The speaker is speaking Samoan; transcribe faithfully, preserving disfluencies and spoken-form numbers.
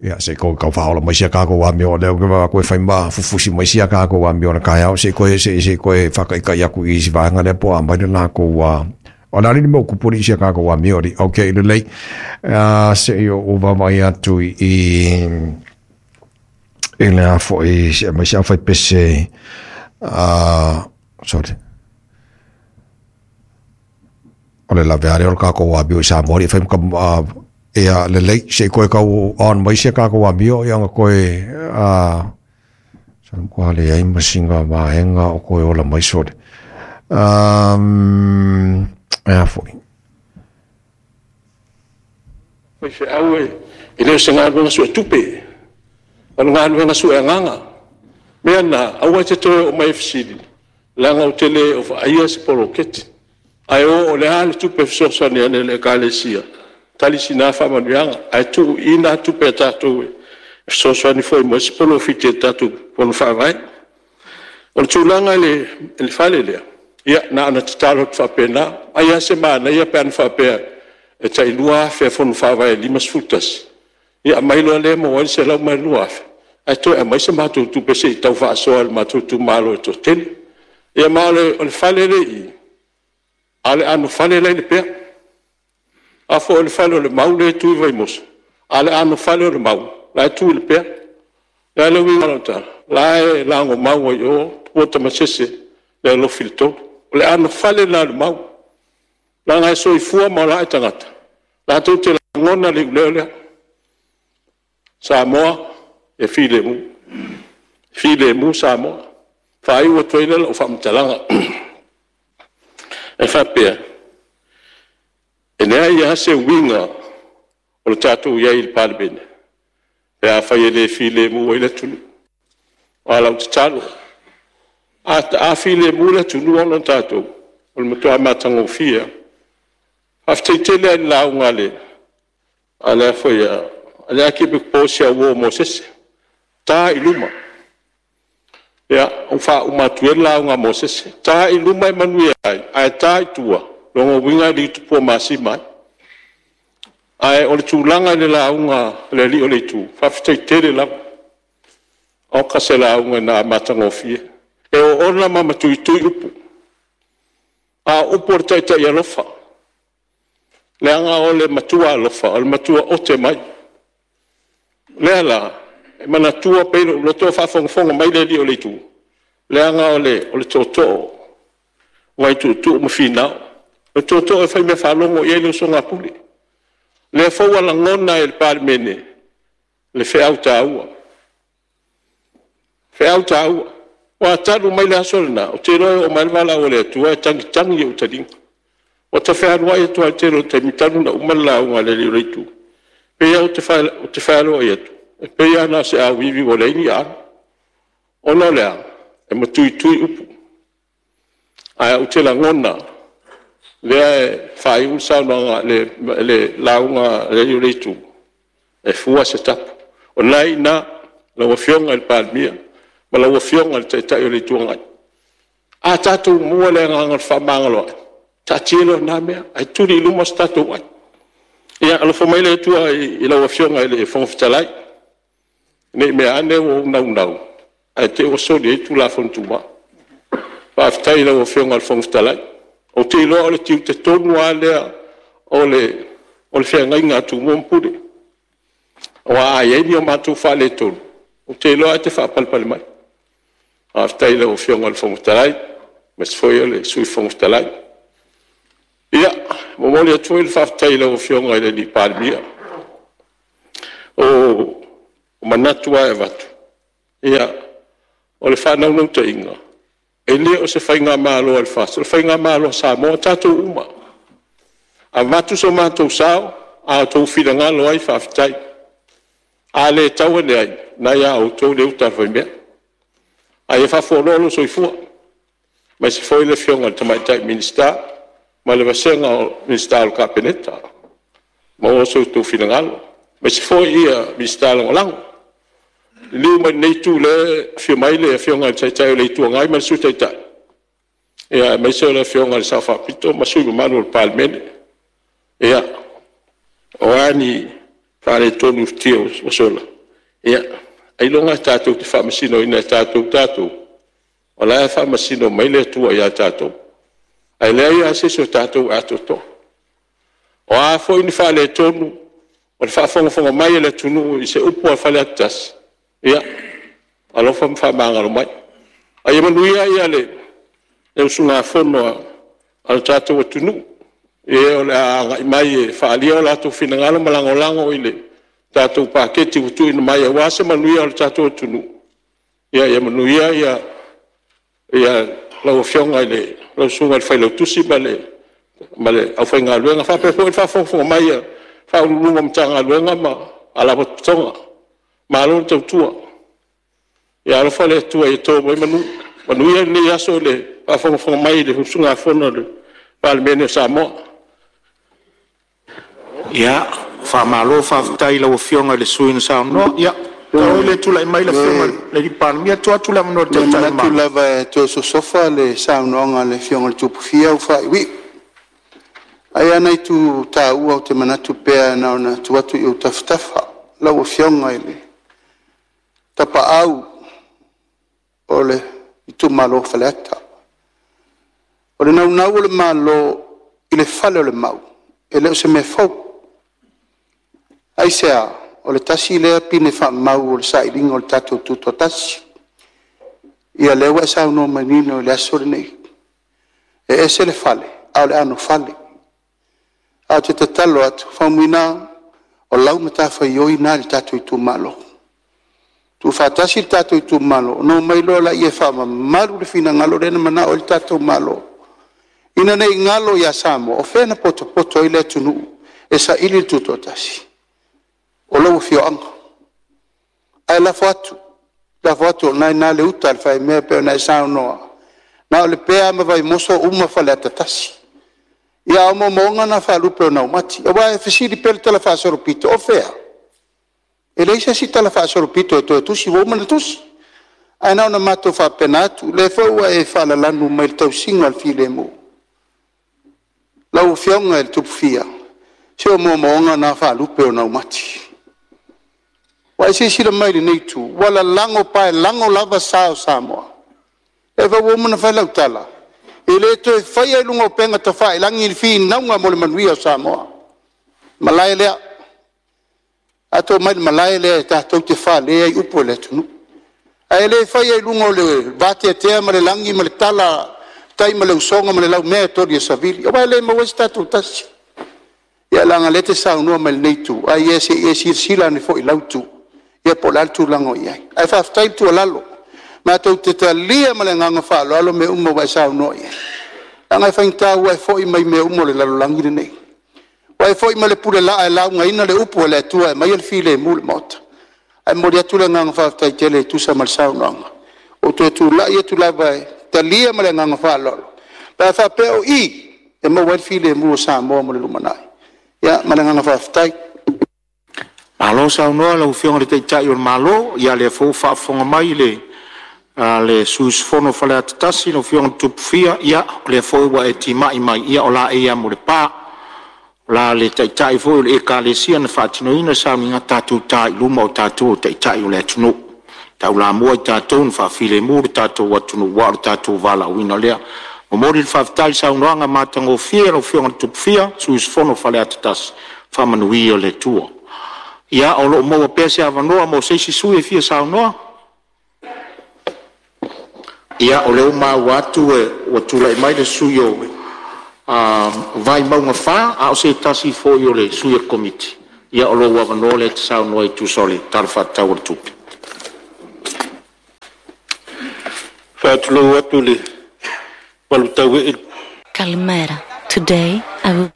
Ia se i tau faaola mai sia tatou amio, lea ou te vaai atu e fai ma fufusi mai sia tatou amio o le taeao, se i toe se i toe faataitai atu i isi vaega lea po o aumai le latou o le a le mea o tupu alii i sia tatou amio alii. Okay, lelei. Se i ou vaavaai atu i i le a foi se aumai se aufaipese, sorry. O le lavea lea o le tatou amio i Samoa e fai ma ia lelei, se i toe tau on mai sia tatou amio ia ona toe sa leai ma sina vaega o toe ola mai, sorry. Um, e a foi. Faifeau e le o se galuega suetupe, o le galuega sueagaga. O le mea lena, aua e te toe oo mai e fesili, leaga ou te le o vaaia se poloketi. Ae o o le a le tupe e fesoasoani ane i le Ekalesia, tali sina faamanuiaga, ae tuu i i na tupe a tatou e fesoasoani foi mo isi polofiti a le tatou Fono Faavae. O le tulaga i le fale lea, ia na ona tatalo atu faapena, ai lava se manaia pe ana faapea e tai lua afe a Fono Faavae e limasefulu tasi, ia aumai loa lea e maua ai le selau ma le lua afe, ae toe aumai se matou tupe se i tau faasoa e le matou itumalo e toatele. Ia ma o le fale lea e i i, a o le anofale la e i Lepea. A foi o le fale o le Mau lea e tu i Vaimoso, a o le anofale o le Mau la e tu i Lepea. O le a le uiga o lau tala? O la e lagomau ai i o tupua tamasese le alofi i le tolu. O le anofale la a le Mau, leaga e soifua ma ola ae tagata latou te lagona le iuleo lea, Samoa ia filemu, filemu Samoa. Ona faaiu atu ai lea o lau faamatalaga e faapea, e leai lava se uiga o le tatou i ai i le Palemene pe afai e le filemu ai le atunuu. A o lau tatalo, a filemu le atunuu ona tatou, o le matua matagofie lava. Faafetai tele lava i le lauga a le Akiepikopo o si au uo o Mosese, ta i luma. Ia, ua faauma atu ia le lauga a Mosese, ta i luma e manuia ai, ae ta i tua, o lona uiga e liutupuamasima ai. Ae o le tulaga i le lauga a le Alii o le Itu, faafetai tele lava. Oka se lauga na matagofie. E oona ma matuitui upu, a o upu a le taitai alofa, leaga o le matua alofa, o le matua ote mai. O lea la, e manatua pea i lou loto a o faafogafoga mai le Alii o le Itu, leaga o le tootoo o Vaituutuu ma Finao. O le tootoo e faimeafaalogo i ai le usoga a Pule. O lea foi ua lagona e le Palemene le feau taua, feau taua. Aua talu mai le aso lena, ou te iloa e oo mai lava le valaau a le Atua e tagitagi i ou taliga. Ua ta fealuai atu lava i le tele o taimi talu ona uma le lauga a le Alii o le Itu, e pei lava ou te fealuai atu, e pei lava na o se auivi ua leai ni aano. Ona o le a? E matuitui upu, ae ou te lagona, lea e faaiu le saunoaga le lauga a le Alii o le Itu, e fua se tapu. O lena e i ina lau Afioga i le Palemia ma lau Afioga i le Taitai o le Itu Agai. A tatou maua le agaga o le fefaamagaloai, taatia loa lena mea ae tuli i luma so tatou ai. Ia alofa mai le Atua i lau Afioga i le Fofoga Fetalai, ne i meaane ua ou naunau ae te i ua soli ai Tulafono Tumau. Faafetai i lau Afioga i le Fofoga Fetalai. Ou te iloa o le tiute tonu lava lea o le feagaiga a Tumua ma Pule, aua a i ai ni o matou faaletonu, ou te iloa e te faapalepale mai. Faafetai i lau Afioga i le Fofoga Fetalai, aemaise foi o le Sui Fofoga Fetalai. Ia, e momoli atu foi le faafetai i lau Afioga i le Palemia. O manatu lava e avatu, ia, o le faanaunautaiga, e le o se faigamalo a le FAST, o le faigamalo a Samoa, o tatou uma. Avatu so matou sao, a outou finagalo ai, faafetai. A le tau ane ai, o lena e ia outou le uta a le faimea. Ae ia faafualoa lou soifua, aemaise foi le Afioga i le Tamaitai Minisita ma le vasega o Minisita o le Kapeneta, maua so outou finagalo, aemaise foi Minisita Lagolago. Liliu mai i lenei Itu o lea e afio mai le Afioga i le Taitai o le Itu Agai ma le Sui Taitai, aemaise o le Afioga i le Sao Faapito ma sui usufono mamalu o le Palemene. Ia, o a ni faaletonu i futia ua sola, ia, ailoga tatou te faamasinoina e tatou tatou, o la e faamasino mai le Atua ia tatou. Ae leai lava se isi o tatou e atoatoa. O a foi ni faaletonu o le faafogafoga mai a le atunuu i se upu a Faleata tasi, ia alofa ma faamagalo mai. Ae ia manuia le usugafono a lo tatou atunuu i e o le a agai mai e faaalia o latou finagalo ma lagolago i le tatou Paketi ua tuuina mai aua se manuia o le tatou atunuu. Ia manuia lau Afioga i lau Susuga i le Failautusi ma le aufaigaluega, faapea foi le faafogafoga mai a Ofisa Sili o Pulega o Matagaluega ma Faalapotopotoga. Malo le tautua. Ia alofa le Atua ia to mai manu. Manuia lenei aso i le faafogafoga mai i le usugafono a le Palemene o Samoa. Ia, faamalo faafetai i lau Afioga i le sui usufono na saunoa. Ia, talu ai o lea e tulai mai le Afioga i le Palemia, tuu atu le avanoa i le E Taitai o le manatu Malo. lava e toe sosofa le saunoaga a le Afioga i le Tupufia ua faaiuiu. Ae i ai lava nai itu taua ou te manatu pea na ona tuu atu i ou tafatafa, lau Afioga i le Tapaau o le itumalo o Faleata. O le naunau o le Malo i le fale o le Mau, e le o se mea fou. Aisea? O le tasi lea pine faamau o le sailiga o le tatou Tutoatasi. Ia o lea ua e saunoa manino i le aso lenei, e ese le fale, a o le anofale. Ae ou te tatalo atu, Faumuina, o lau matafaioi lena i le tatou itumalo. Tuufaatasi le tatou itumalo, ona omai loa lea e faamamalu le finagalo lea na manao i ai le tatou Malo, ina ne i galo ia Samoa, o fea na potopoto ai le atunuu e saili le Tutoatasi? O lou afioaga. Ae lafo atu, lafo atu o lena e i ina le uta a le faimea e pei ona e saunoa, na o Lepea ma Vaimoso uma Faleata tasi. Ia a o moomooga na faalupe o naumati. Aua e fesili pea le talafaasolopito, o fea? E leai se isi talafaasolopito e toe tusi, ua uma ona tusi. Ae na ona matou faapena atu, o lea foi ua e faalalanu mai i le tausiga o le filemu. Lau Afioga i le Tupufia, se o moomooga na faalupe o naumati. Ua e silasila mai i lenei itu, ua lalago paelago lava sa o Samoa. O lea foi ua uma ona fai lau tala, e le toe faia i luga o upega tafailagi ni finauga mo le manuia o Samoa. O le malae lea. A outou omai i le malae lea tatou te fale ai upu o le atunuu. Ae le faia i luga o le vateatea ma le lagi ma le tala a le tai ma le usoga ma le laumea e toli e savili, aua e le maua ai so tatou tasi. Ia leaga o lea e te saunoa mai i lenei itu, ae se i e silasila ane foi i lau itu, ia po o le a le tulaga o i ai. Ae faafetai le tuualalo, matou te talia ma le agaga faaaloalo mea uma ua e saunoa i ai, leaga e faigata ua e foi mai mea uma o le lalolagi lenei, ua e foi ma le pulelaa e laugaina le upu a le Atua e aumaia le filemu i le Maota. Ae momoli atu le agaga faafetai tele e tusa ma le saunoaga. Ua ou toe tulai atu lava e talia ma le agaga faaaloalo, pe a faapea o i e maua ai le filemu o Samoa mo le lumanai. Ia, ma le agaga faafetai. Malo saunoa i lau Afioga i le Taitai o le Malo, ia o lea foi ua faafofoga mai le a le sui usufono o Faleata tasi lau Afioga i le Tupufia, ia o lea foi ua e timai mai, ia o laei lava mo le pa. O la le Taitai foi o le Ekalesia na faatinoina le sauniga, tatou ta i luma o tatou o Taitai o le atunuu. Taulamua i tatou na faafilemu le tatou atunuu aua o le tatou valaauina lea. Momoli le faafetai i le saunoaga matagofie a lau Afioga i le Tupufia, sui usufono o Faleata tasi, faamanuia le Atua. Ia o lo o maua pea se avanoa mo se isi sui usufono e fia saunoa. Ia, o lea ua maua atu ua tulai mai le sui usufono mo Vaimauga fa, a o se tasi foi o sui o le Komiti. Ia o lou avanoa lea e te saunoa ai e tusa o le Tala Faatatau o le Tupe. Faatulou atu i le malutauee Kalimera. Today I will